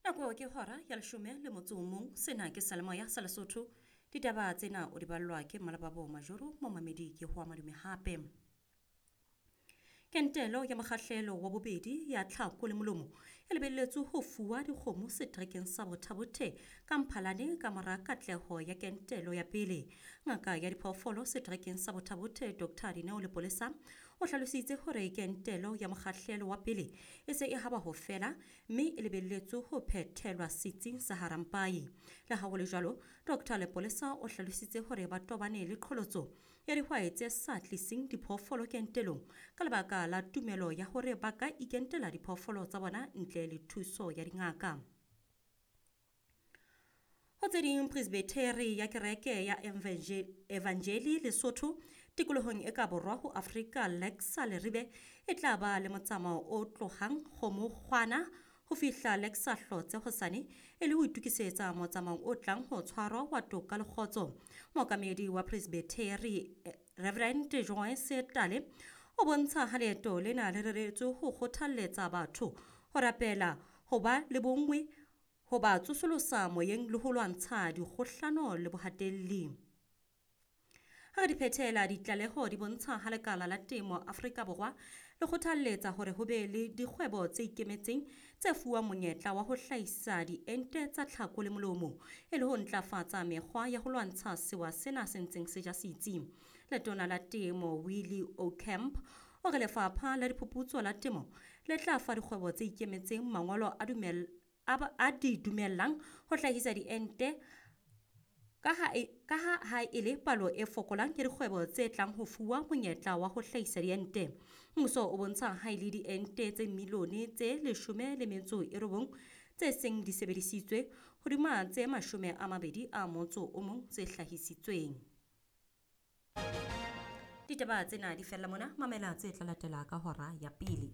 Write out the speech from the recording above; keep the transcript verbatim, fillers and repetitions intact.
Nako ke hora ya leshome le motso o mong. Sena ke Salemoya sa Lesotho. Ditaba tsena o di ballwa ke Malababo Majoro, momamedi ke ho madume hape. Kentelo ya mokgahlelo wa bobedi ya tlhako le molomo e lebelletswe ho fuwa dikgomo seterekeng sa Botha-Bothe ka Mphalane ka mora katleho ya kentelo ya pele. Ngaka ya diphoofolo seterekeng sa Botha-Bothe Doctor Dineo Lepolesa o hlalositse hore kentelo ya mokgahlelo wa pele e se e haba ho fela mme e lebelletswe ho phethelwa setsing sa Harampai. Le ha ho le jwalo, Doctor Lepolesa o hlalositse hore ba tobane le qholotso ya dihwai tse sa tliseng diphoofolo kentelong ka lebaka la tumelo ya hore ba ka ikentela diphoofolo tsa bona ntle le thuso ya dingaka. Ho tse ding, Presbyteri ya kereke ya Evangeli Lesotho tikolohong e ka borwa ho Afrika Lexa Leribe e tla ba le motsamao o tlohang Kgomokgwana ho fihla Lexa Hlotse hosane e le ho itokisetsa motsamaong o tlang ho tshwarwa wa toka le kgotso. Mookamedi wa Presbyteri Reverend Joyce Tale o bontsha ha leeto lena le reretswe ho kgothalletsa batho ho rapela, ho ba le bonngwe, ho ba tsosolosa moyeng le ho lwantsha dikgohlano le bohatelli. Ha re di phethela, ditlaleho di bontsha ha lekala la temo Afrika Borwa le kgothalletsa hore ho be le dikgwebo tse ikemetseng tse fuwang monyetla wa ho hlahisa diente tsa tlhako le molomo e le ho ntlafatsa mekgwa ya ho lwantsha sewa sena se ntseng se ja setsi. Letona la Temo Willie Aucamp o re lefapha la diphuputso la temo le tla fa dikgwebo tse ikemetseng mangolo a dumel a di dumellang ho hlahisa diente ka ha ha e le palo e fokolang ya dikgwebo tse tlang ho fuwa monyetla wa ho hlahisa diente. Mmuso o bontsha ha e le diente tse milione tse leshome le metso e robong tse seng di sebedisitswe hodima tse mashome a mabedi a motso o mong tse hlahisitsweng. Ditaba tsena di fella mona, mamela tse tla latela ka hora ya pele.